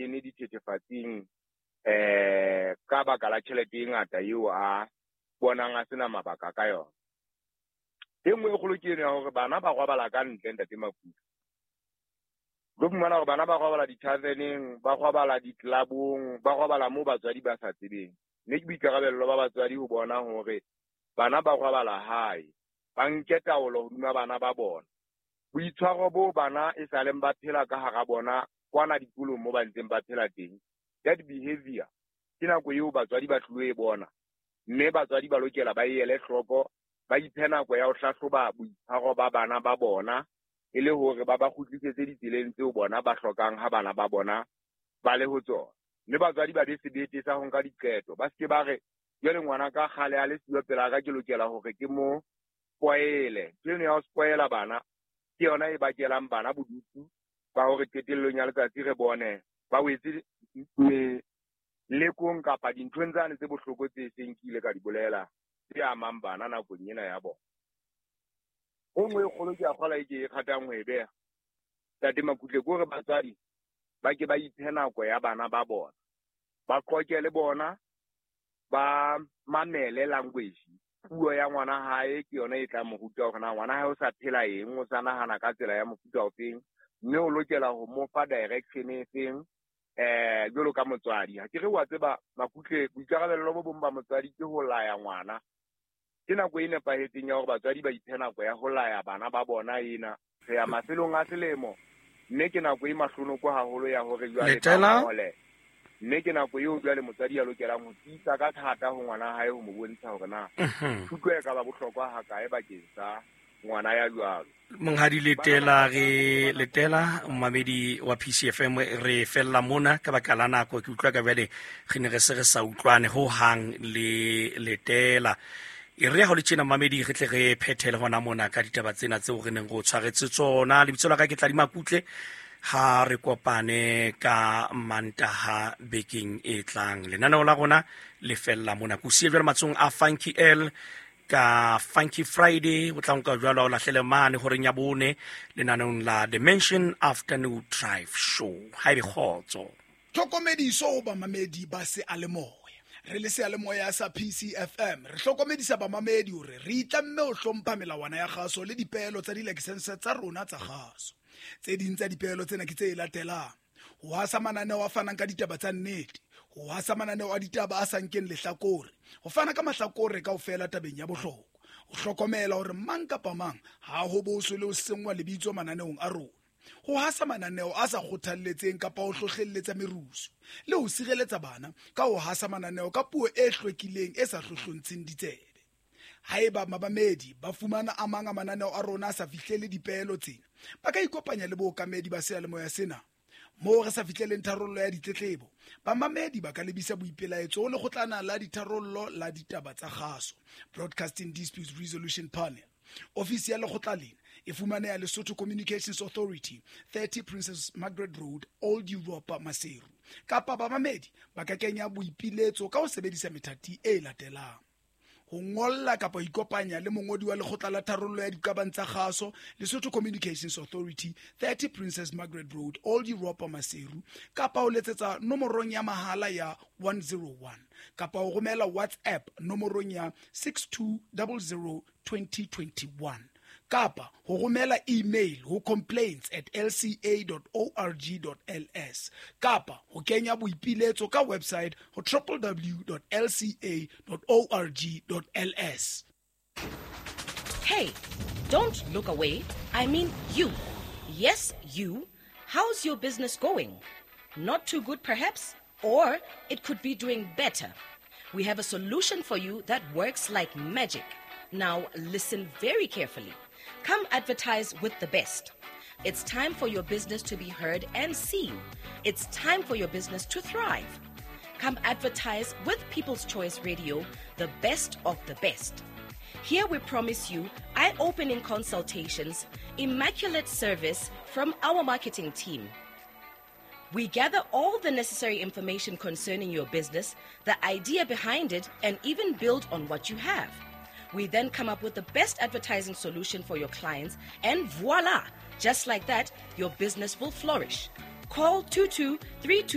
kene dithethefatsing ka baka la tjhelete e ngata eo a bonang a sena mabaka ka yona. E nngwe e kgolo ke eno ya hore bana ba robala ka ntle, ntate Makutu. Tlo fumana hore bana ba robala di-taverneng, ba robala di-clubong, ba robala moo batswadi ba sa tsebeng. Mme ke boikarabello ba batswadi ho bona hore bana ba robala hae, ba nke taolo hodima bana ba bona. Boitshwaro bo bana e saleng ba phela ka hara bona kwana dikolong mo ba ntseng ba phela teng, that behavior ke nako eo batswadi ba tlilo e bona, mme batswadi ba lokela ba e ele hloko, ba iphe nako ya ho hlahloba boitshwaro ba bana ba bona e le hore ba ba kgutlisetse ditseleng tseo bona ba hlokang ha bana ba bona ba le ho tsona. Mme batswadi ba be sebete sa ho nka diqeto, ba seke ba re jwale ngwana ka kgale a le siyo pela ka, ke lokela hore ke mo spoile. Ntho eno ya ho spoila bana ke yona e bakelang bana bodutu ba hore qetellong ya letsatsi re bone ba wetse melekong kapa dinthong tsane tse bohloko tse seng ke ile ka di bolela tse amang bana nakong ena ya bona. E nngwe e kgolo ke a kgola e ke e kgatang ho e beha, Ntate Makutle, ke hore batswadi ba ke ba iphe nako ya bana ba bona, ba qoke le bona, ba mamele language, puo ya ngwana hae ke yona e tla mo ruta hore na ngwana hae o sa phela eng, o sa nahana ka tsela ya mofuta ofeng, mme o lokela ho mo fa direction e feng jwalo ka motswadi. Ha ke re wa tseba Makutle, boikarabello bo bong ba motswadi ke ho laya ngwana. Ke nako e nepahetseng ya hore batswadi ba iphe nako ya ho laya bana ba bona ena. Re ya mafelong a selemo, mme ke nako e mahlonoko haholo ya hore jwale ba ngole. Mme ke nako eo jwale motswadi a lokelang ho tiisa ka thata ho ngwana hae ho mo bontsha hore na thuto e ka ba bohlokwa hakae bakeng sa ngwana ya jwalo. Monghadi Letela, re Letela, momamedi wa PCFM, re fella mona ka baka la nako. Ke utlwa ka bjale re ne re se re sa utlwane ho hang le Letela. E re ha ho le tjena momamedi, re tle re phethele hona mona ka ditaba tsena tseo re neng re o tshwaretse tsona. Lebitso la ka ke Tladi Makutle. Ha re kopane ka Mantaha bekeng e tlang. Lenaneo la rona le fella mona. Ke o siye jwale matsohong a Funky L ka Funky Friday, o tla nka jwalo o lahlele mane horeng ya bone lenaneong la Dimension Afternoon Drive Show. Ha ebe kgotso. Tlhokomediso ho bamamedi ba seyalemoya. Re le seyalemoya sa PCFM re hlokomedisa bamamedi hore re itlamme ho hlompha melawana ya kgaso le dipeelo tsa dilakesense tsa rona tsa kgaso. Tse ding tsa dipeelo tsena ke tse latelang: ho hasa mananeo a fanang ka ditaba tsa nnete, ho hasa mananeo a ditaba a sa nkeng lehlakore, ho fana ka mahlakore kaofela tabeng ya bohlokwa, ho hlokomela hore mang kapa mang ha ho boswe le ho senngwa lebitso mananeong a rona, ho hasa mananeo a sa kgothalletseng kapa ho hlohlelletsa merusu, le ho sireletsa bana ka ho hasa mananeo ka puo e hlwekileng e sa hlohlontsheng ditsebe. Haeba mamamedi ba fumana a mang a mananeo a rona a sa fihlele dipeelo tsena, ba ka ikopanya le bookamedi ba seyalemoya sena. Moo re sa fihleleng tharollo ya ditletlebo, bamamedi ba ka lebisa boipelaetso ho lekgotlana la ditharollo la ditaba tsa kgaso, Broadcasting Disputes Resolution Panel. Ofisi ya lekgotla lena e fumaneha Lesotho Communications Authority, 30 Princess Margaret Road, Old Europa, Maseru. Kapa bamamedi ba ka kenya boipiletso ka ho sebedisa methati e latelang: ho ngolla kapa ho ikopanya le mongodi wa lekgotla la tharollo ya diqabang tsa kgaso, Lesotho Communications Authority, 30 Princess Margaret Road, Old Europa, Maseru, kapa ho letsetsa nomorong ya mahala ya 101, kapa ho romela WhatsApp nomorong ya 6200 2021, kapa ho romela email ho complaints@lca.org.ls, kapa ho kenya boipiletso ka website ho www.lca.org.ls. Hey, don't look away. I mean you. Yes, you. How's your business going? Not too good, perhaps? Or it could be doing better. We have a solution for you that works like magic. Now, listen very carefully. Come advertise with the best. It's time for your business to be heard and seen. It's time for your business to thrive. Come advertise with People's Choice Radio, the best of the best. Here we promise you eye-opening consultations, immaculate service from our marketing team. We gather all the necessary information concerning your business, the idea behind it, and even build on what you have. We then come up with the best advertising solution for your clients, and voila! Just like that, your business will flourish. Call 2232